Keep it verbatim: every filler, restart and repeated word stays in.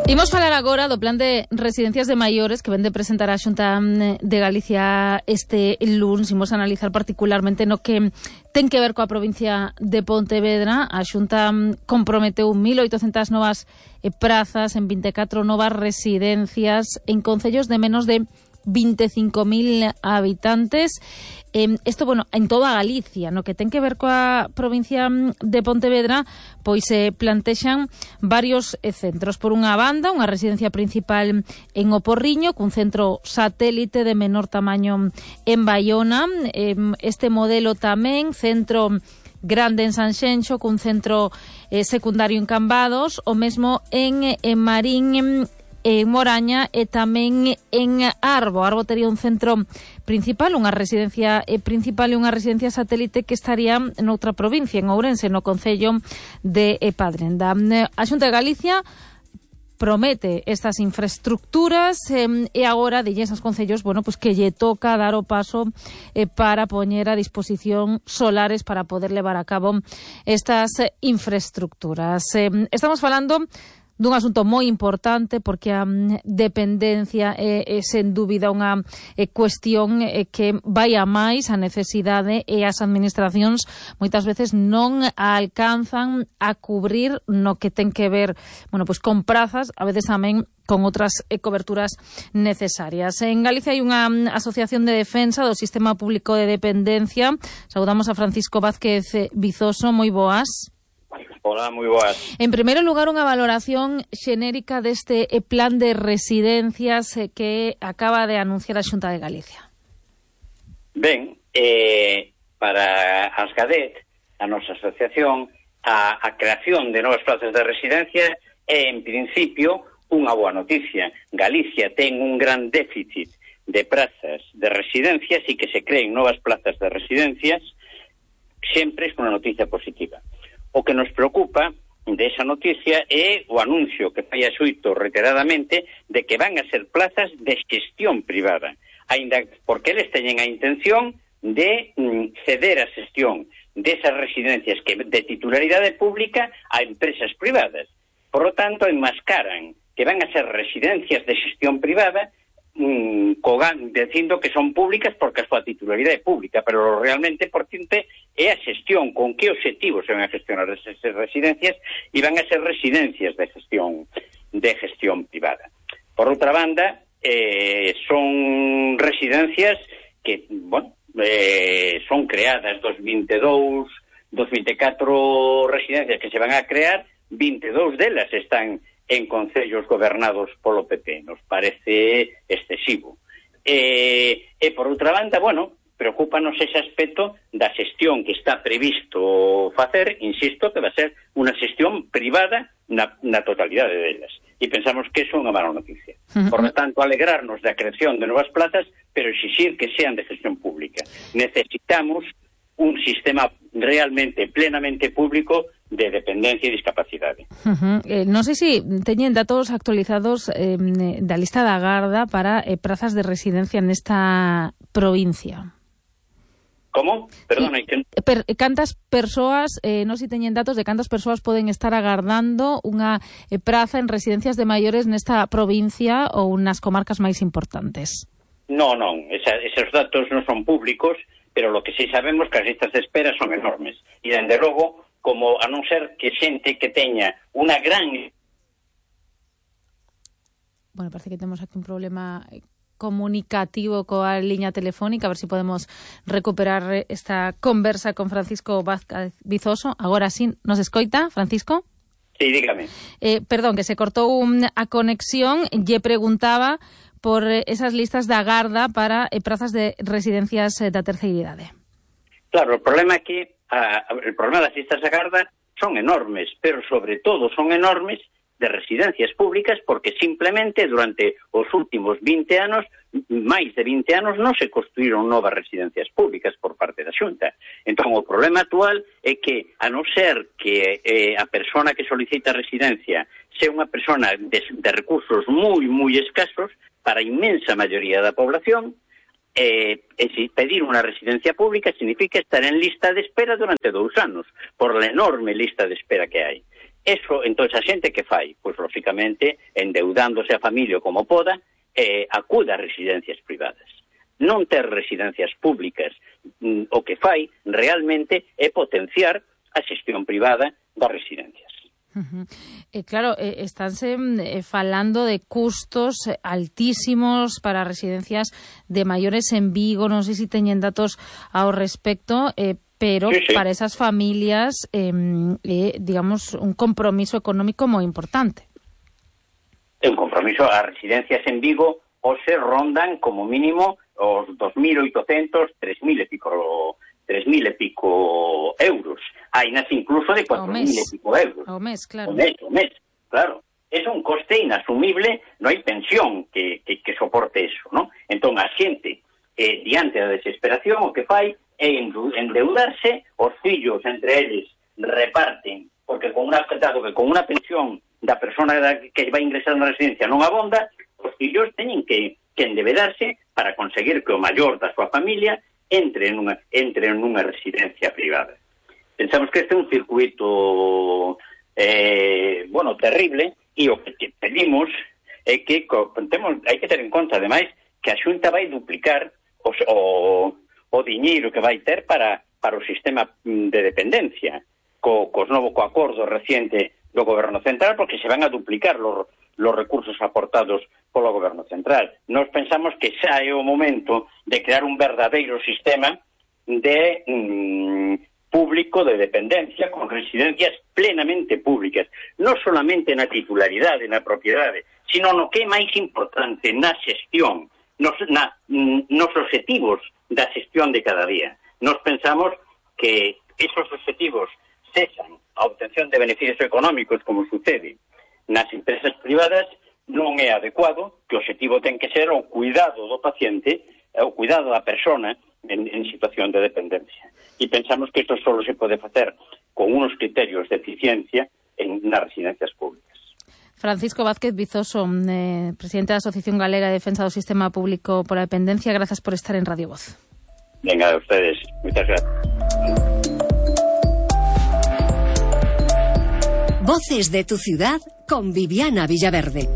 Imos falar agora do plan de residencias de maiores que vende presentar a Xunta de Galicia este luns. Imos analizar particularmente no que ten que ver coa provincia de Pontevedra. A Xunta comprometeu mil oitocentas novas prazas en vinte e catro novas residencias en concellos de menos de vinte e cinco mil habitantes. Eh, esto, bueno, en toda Galicia, no que ten que ver coa provincia de Pontevedra, pois se eh, plantexan varios eh, centros. Por unha banda, unha residencia principal en O Porriño, cun centro satélite de menor tamaño en Baiona. Eh, este modelo tamén, centro grande en Sanxenxo, cun centro eh, secundario en Cambados, o mesmo en, en Marín, en en Moraña e tamén en Arbo. Arbo tería un centro principal, unha residencia principal e unha residencia satélite que estaría noutra provincia, en Ourense, no concello de Padrenda. A Xunta de Galicia promete estas infraestructuras eh, e agora dilles aos concellos, bueno, pues que lle toca dar o paso eh, para poñer a disposición solares para poder levar a cabo estas eh, infraestructuras. Eh, estamos falando dun asunto moi importante porque a um, dependencia é, é sen dúbida unha é, cuestión é, que vai a máis a necesidade e as administracións moitas veces non a alcanzan a cubrir no que ten que ver, bueno, pues con prazas, a veces tamén con outras eh, coberturas necesarias. En Galicia hai unha um, asociación de defensa do sistema público de dependencia. Saudamos a Francisco Vázquez Vizoso, moi boas. Hola, moi boas. En primeiro lugar, unha valoración xenérica deste plan de residencias que acaba de anunciar a Xunta de Galicia. Ben, eh, para as GADET, a nosa asociación, a, a creación de novas plazas de residencia é, en principio, unha boa noticia. Galicia ten un gran déficit de plazas de residencias e que se creen novas plazas de residencias sempre é unha noticia positiva. O que nos preocupa desa noticia é o anuncio que fai a Xuito reiteradamente de que van a ser plazas de xestión privada, aínda porque eles teñen a intención de mm, ceder a xestión desas residencias que de titularidade pública a empresas privadas. Por lo tanto, enmascaran que van a ser residencias de xestión privada Mm, cogan, dicindo que son públicas porque a súa titularidade é pública, pero realmente por tinte é a xestión, con que obxectivos se van a gestionar esas residencias, e van a ser residencias de gestión de gestión privada. Por outra banda, eh, son residencias que, bueno, eh, son creadas dos vinte e dous, dos vinte e catro residencias que se van a crear, vinte e dous delas están en concellos gobernados polo P P. Nos parece excesivo. E, e por outra banda, bueno, preocúpanos ese aspecto da xestión que está previsto facer, insisto, que vai ser unha xestión privada na, na totalidade delas. E pensamos que iso é unha mala noticia. Por lo tanto, alegrarnos da creación de novas plazas, pero exixir que sean de gestión pública. Necesitamos un sistema realmente, plenamente público de dependencia e discapacidade. Uh -huh. eh, non sei se teñen datos actualizados eh, da lista da Garda para eh, prazas de residencia nesta provincia. Como? Perdona, que... per, cantas persoas, eh, non sei se teñen datos de cantas persoas poden estar agardando unha eh, praza en residencias de maiores nesta provincia ou nas comarcas máis importantes? Non, non, esa, esos datos non son públicos, pero lo que sí sabemos que as listas de espera son enormes. E, dende logo, como a non ser que xente que teña unha gran... Bueno, parece que temos aquí un problema comunicativo coa liña telefónica, a ver se si podemos recuperar esta conversa con Francisco Vázquez Vizoso. Agora sí, nos escoita, Francisco? Sí, dígame. Eh, perdón, que se cortou a conexión. Lle preguntaba por esas listas da Garda para eh, prazas de residencias eh, da terceira idade. Claro, o problema aquí, a, el problema das listas da Garda son enormes, pero sobre todo son enormes de residencias públicas porque simplemente durante os últimos vinte anos, máis de vinte anos, non se construíron novas residencias públicas por parte da Xunta. Entón, o problema actual é que, a non ser que eh, a persona que solicita residencia sea unha persona de, de recursos moi, moi escasos, para a inmensa maioría da población, eh, pedir unha residencia pública significa estar en lista de espera durante dous anos, por la enorme lista de espera que hai. Eso, entón, a xente que fai? Pois, lógicamente, endeudándose a familia como poda, eh, acuda a residencias privadas. Non ter residencias públicas, mm, o que fai realmente é potenciar a xestión privada das residencias. Uh-huh. Eh, claro, eh, estánse eh, falando de custos altísimos para residencias de maiores en Vigo, non sei se teñen datos ao respecto, eh, pero sí, sí. para esas familias, eh, eh, digamos, un compromiso económico moi importante. Un compromiso, as residencias en Vigo o se rondan como mínimo os dos mil oitocentos, tres mil e pico, tres mil e pico euros. Hai nas incluso de cuatro mil e pico euros. Ao mes, claro. O mes, o mes, claro. É un coste inasumible, non hai pensión que, que, que soporte eso, non? Entón, a xente, eh, diante da desesperación, o que fai é endeudarse, os fillos entre eles reparten, porque con una, dado que con unha pensión da persona que vai ingresar na residencia non abonda, os fillos teñen que, que endebedarse para conseguir que o maior da súa familia entre nunha, entre nunha residencia privada. Pensamos que este é un circuito eh, bueno, terrible, e o que pedimos é que temos, hai que ter en conta, ademais, que a Xunta vai duplicar os, o o diñeiro que vai ter para, para o sistema de dependencia co, co novo co acordo reciente do Goberno Central, porque se van a duplicar los, los recursos aportados polo Goberno Central. Nos pensamos que xa é o momento de crear un verdadeiro sistema de mm, público de dependencia con residencias plenamente públicas, non solamente na titularidade, na propiedade, sino no que é máis importante, na xestión, nos, na, nos objetivos da xestión de cada día. Nos pensamos que esos objetivos cesan a obtención de beneficios económicos, como sucede nas empresas privadas, non é adecuado, que o objetivo ten que ser o cuidado do paciente, o cuidado da persona en, en situación de dependencia. E pensamos que isto só se pode facer con unos criterios de eficiencia en nas residencias públicas. Francisco Vázquez Vizoso, eh, presidente da Asociación Galega de Defensa do Sistema Público pola Dependencia, grazas por estar en Radio Voz. Venga, a ustedes. Muchas gracias. Voces de tu ciudad con Viviana Villaverde.